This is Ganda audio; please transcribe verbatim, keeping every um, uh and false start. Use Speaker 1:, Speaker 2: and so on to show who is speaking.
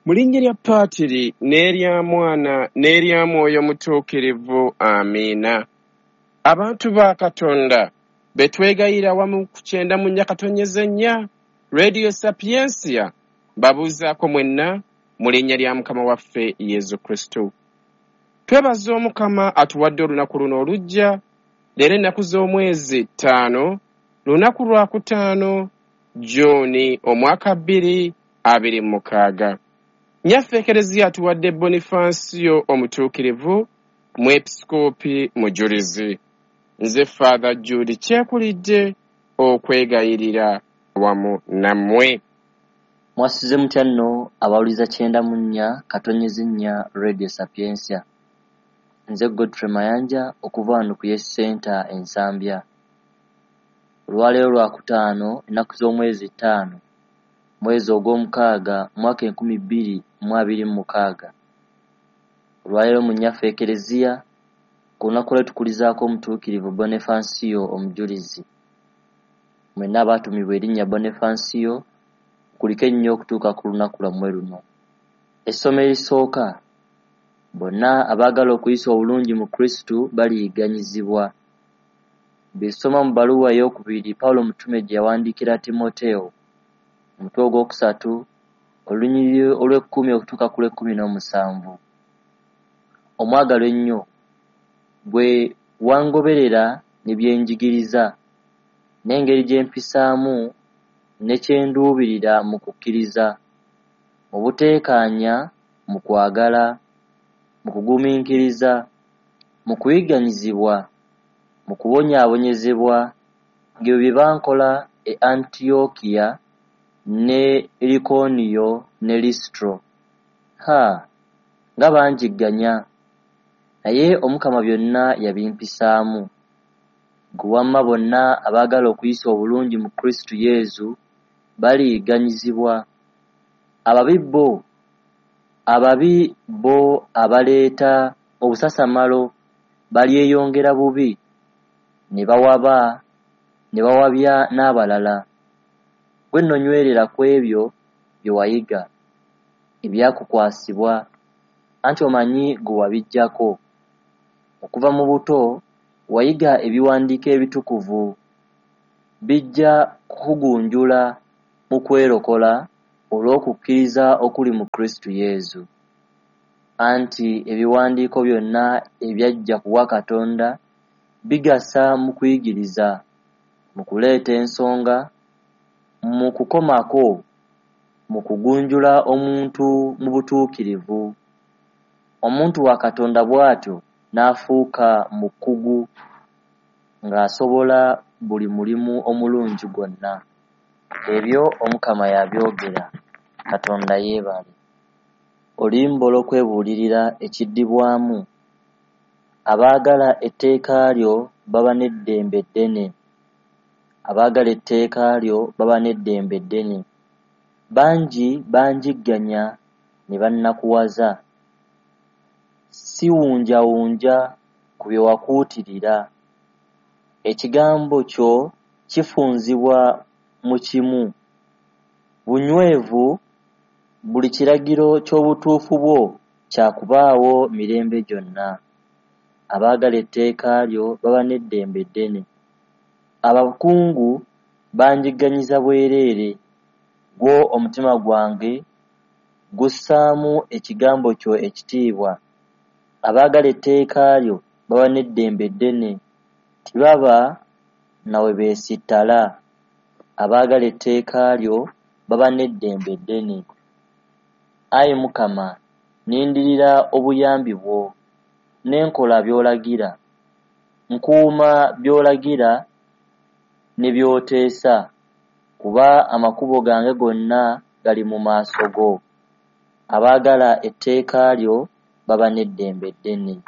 Speaker 1: Mu linnya lya Paatiri n'erya Mwana n'erya Mwoyo Mutuukirivu, amiina. Abantu ba Katonda be twegayirira wamu ku kyenda mu nnya katonyeze nnya Radio Sapientia, mbabuuzaako mwenna mu linnya lya Mukama waffe Yesu Kristo. Twebaza Omukama atuwadde olunaku luno olujja, leero ennaku z'omwezi ttaano, lunaku lwa kutaano Juni omwaka bbiri abiri mu mukaaga. Nnyaffe Ekereziya atuwadde Bonifansio omutuukirivu, mwepisikoopi mujulizi. Nze Father Jude Kyekulidde okwegayirira wamu nammwe.
Speaker 2: Mwasuze mutya nno abawuliza kyenda mu nnya katonyeze nnya Radio Sapientia. Nze Godfrey Mayanja okuva wano ku Yes Center e Nsambya. Olwaleero lwakutaano ennaku z'omwezi ttaano mwezi ogw'omukaaga mwaka enkumi bbiri mu abiri mu mukaaga. Olwaleero mu nnyaffe Ekereziya ku lunaku lwe tukulizaako omutuukirivu Bonifansio omujulizi. Mwenna abaatumibwa erinnya Bonifansio kuliko ennyo okutuuka ku lunaku lwammwe luno. Essomo erisooka, bonna abaagala okuyisa obulungi mu Kristo baliyigganyizibwa. Bye tusoma mu bbaluwa ey'okubiri Pawulo Mutume gye yawandiikira Timoteewo, omutwe ogwokusatu, olunyiriri olw'ekkumi okutuuka ku lw'ekkumi n'omusanvu. Omwagalwa ennyo, bwe wangoberera ne bye njigiriza, n'engeri gye mpisaamu ne kye nduubirira mu kukkiriza, mu buteekaanya, mu kwagala, mu kugumiikiriza, mu kuyigganyizibwa, mu kubonyaabonyezebwa, ng'ebyo bye bankola e Antiyookiya ne Likoniyo ne Lisitro. Ha, nga banjigganya! Naye Omukama byonna yabimpisaamu. Ggwe wamma bonna abaagala okuyisa obulungi mu Kristo Yesu baliyigganyizibwa. Ababi bo ababi bo abaleeta obusasamalo balyeyongera bubi, ne bawaba ne bawabya n'abalala. Ggwe nno nywerera ku ebyo bye wayiga, ebyakukwasibwa, anti omanyi gwe wabiggyako. Okuva mu buto wayiga ebiwandiiko ebitukuvu, bijja kukugunjula mu kwerokola olw'okukkiriza okuli mu Kristo Yesu. Anti ebiwandiiko byonna ebyajja ku bwa Katonda bigasa mu kuyigiriza, mu kuleeta ensonga, mu kukomako, mu kugunjula omuntu mu butuukirivu. Omuntu wa Katonda bw'atyo n'afuuka mukugu ng'asobola buli mulimu omulungi gwonna. Ebyo Omukama yabyogera, Katonda yeebale. Oluyimba olw'okwebuulirira ekiddibwamu. Abaagala etteeka lyo baba n'eddembe ddene. Abaagala etteeka lyo baba n'eddembe ddene. Bangi banjigganya ne bannakuwaza. Siwunjawunja ku bye wakuutirira. Ekigambo kyo kifunzibwa mu kimu. Bunywevu buli kiragiro ky'obutuufu bwo kya kubaawo mirembe gyonna. Abaagala etteeka lyo baba n'eddembe ddene. Abakungu banjigganyiza bwereere, gwo omutima gwange gussaamu ekigambo kyo ekitiibwa. Abaagala etteeka lyo baba n'eddembe ddene, tebaba na we beesittala. Abaagala etteeka lyo baba n'eddembe ddene. Ayi Mukama, nnindirira obuyambi bwo, ne nkola by'olagira. Nkuuma by'olagira ne by'oteesa, kuba amakubo gange gonna gali mu maaso go. Abaagala etteeka lyo baba n'eddembe ddene.